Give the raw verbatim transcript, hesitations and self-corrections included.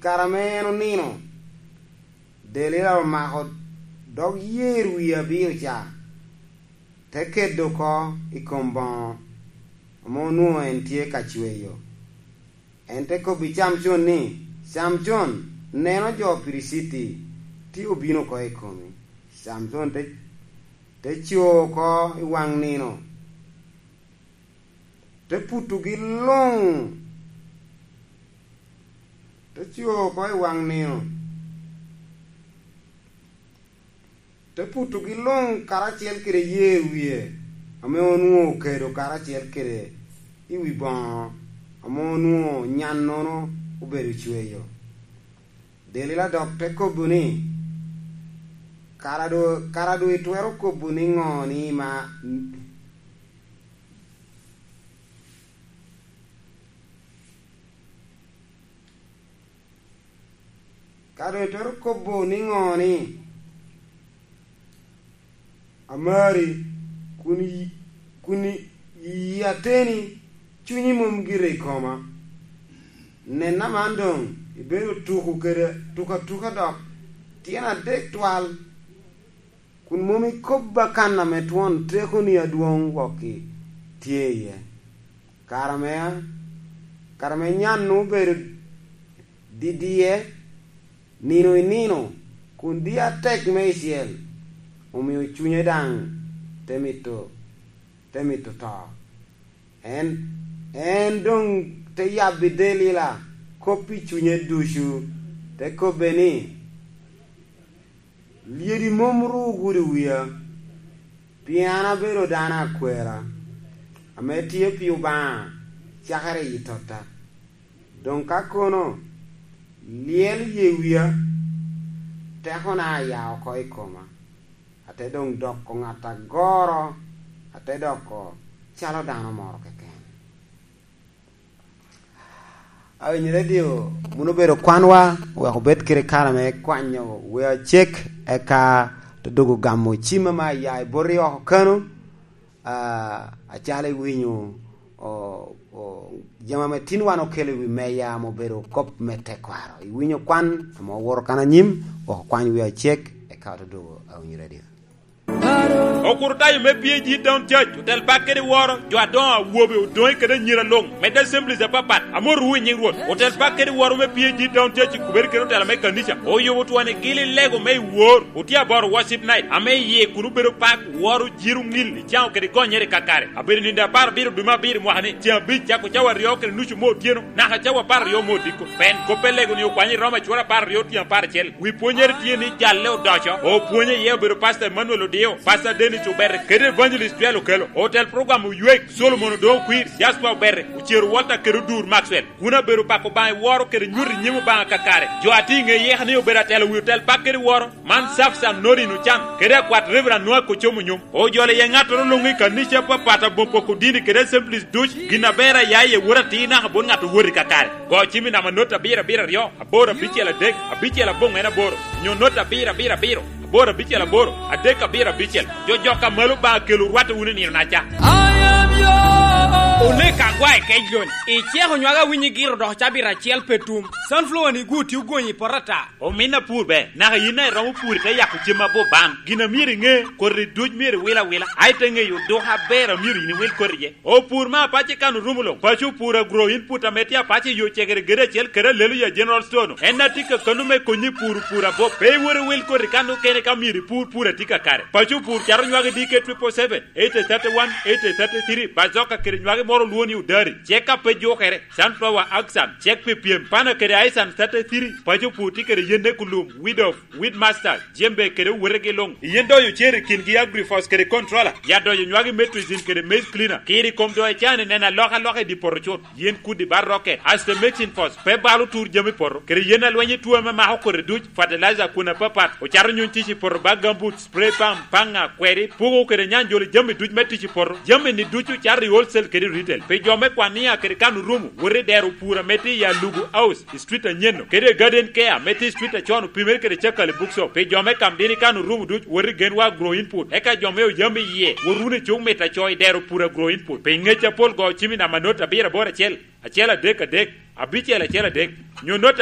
Kare ame en onino, Delila omako dog yer wie abiro ca, te kedo oko i kom boŋo ame onwoŋo en tye ka cweyo. En te kobbi Camcon ni, "Camcon, neno jo Piliciti tye obino oko i komi." Camcon te, te co oko i waŋ nino, te putugi luŋ, te co oko i waŋ nino, te putugi luŋ karacel kede yer wie ame onwoŋo okedo karacel kede i wi boŋo ame onwoŋo nyannono obedo cweyo. Delila dok te kobo ni, "Kara do, kara do itwero kobo niŋo ni ma, kara do itwero kobo niŋo ni amari, kun yi-, kun yi ateni, cunyi mom gire i koma? Nen aman doŋ, ibedo tuko kede tuko atuka dok tyen adek twal, kun mom ikobba kan ame twon tekoni adwoŋ wokki tye iye." Kare ame, kare ame nyan obedo didiye, nino i nino, kun di atek meicel, omio cunye daŋ te mito, te mito to. En, en doŋ te yabbi Delila kop i cunye ducu, te kobbe ni, "Lyedi mom ru ogudo wia, pien an abedo dano akwera, ame tye pi Obaŋa cakere i totta. Doŋ ka kono, lyel ye wia, tekona aya oko i koma, ate doŋ doko ŋat agoro, ate doko calo dano moro keken." Awinyo redio, mun obedo kwanwa, wek obed kede kare me kwanyo wia cek, eka te dogo gamo cim ame aya i boti oko kano, ah, acalo iwinyo, o, o, jami ame tin wan okelo i wi meya ame obedo kop me tekwaro. Iwinyo kwan ame owoto kan anyim, wek okwany wia cek, eka te dogo awinyo redio. Okurutayo me P A G Town Church, otel bak kede woro, jo adoŋo, awobe, odoŋe kede anyira luŋ, medde assemblies apapat, amotowu i nyiŋ Rwot. Otel bak kede woro me P A G Town Church i kubere kede otela me kanica, oyubo twoni gili lego me i wor, otye aboro worship night, ame iye kun obedo pak, woro, jiro, ŋil, icaŋo kede gonyere kakare. Abedo nindo apar abiro dwe me abiro mwaka ni, ceŋ abic cako cawa aryo kede nucu me otyeno, naka cawa apar aryo me odiko. Pen kop pe lego ni okwanyo i Roma cura apar aryo tyen apar acel. Wi pwonyere tye ni jalle odoco. Opwonye iye obedo Pastor Emmanuel Odio, Pastor Dennis Obere, kede Evangelist Joel Okello. Otel program Oywek, Solomon Odoŋo Kwir, Jasper Obere, Ocero Walter kede Odur Maxwell. Kun abedo pako Obaŋa i woro kede nyuto i nyim Obaŋa kakare. Jo a tye i ŋe yeka ni obedo atelo wi otel bak kede woro, man Safsan Norin Ocan, kede akwat Reverend Noah Kocom Onyom. Ojolo iye ŋattoro luŋ i kanica apapat aboŋo poko dini kede assemblies duc, gin aber aya iye wot atir naka bot ŋat owot i kakare. Go cim i namba not abiro abiro aryo, aboro abicel adek, abicel aboŋo en aboro, nyo not abiro abiro abiro, aboro abicel aboro, adek abiro abicel. Jo jok a malo Obaŋa kelo rwatte wunu i nino-naca. Oneka agwa i kec loni. Iceko nywaka winyi giro dok cabit acel pe tum. Sunflower ni gu tye ogonyi i poto ata. Omin apur ber, naka yin a iromo pur ite yako cem aboban. Gin a myero iŋe, koti duc myero iwil awila. A ite ŋeyo duka aber a myero yin iwil koti iye. Opur me apac i kan orumo luŋ. Paco opur agro input ame tye apac i yo cegere gede acel kede alelo ya General Store-nu. En a tye ka kano me konyi pur, pur abop. Pe iwor iwil koti kan okene ka myero ipur pur a tye kakare. Paco opur cato nywagi D K triple seven, eight thirty-one, eight thirty-three, bazoka kede nywagi moro olwongo ni odari. Cek ka pe jukere, sunflower, axan, cek pi pyem, pana kede aisan thirty-three, paco pur tye kede yen ekulum, weed of, weed master, jembe kede owetegi luŋ. Yen doyo cer i kingi agrifos kede controller, ya doyo nywagi metrizin kede maize cleaner, kiri kom doyo ecani neno alokaloka i di poto cut. Yen kudi bar rocket, aste mixing force, pe balo tur jami poto, kede yen alweny i tuo ame mako kodi duc, fertilizer kun apapat, ocato nyuny tic i poto bag gambut, spray pump, paŋa, kweri, puko kede nyanjolo jami duc me tic i poto. Jami ni ducu cato i wholesale kede retail. Pi jo me Kwania kede kan orumo, wot i dero pur ame tye i Alugu House, i street anyeno, kede i Garden Care ame tye i street acon opimere kede Cakali Bookshop. Pi jo me Kamdini kan orumo duc, wot i Genwa Agro Input. Eka jo me Oyam iye, wot wunu i cuk mit aco i dero pur Agro Input. Pi ngec apol go cim i namba not abiro aboro acel, acel adek adek, abicel acel adek, nyo not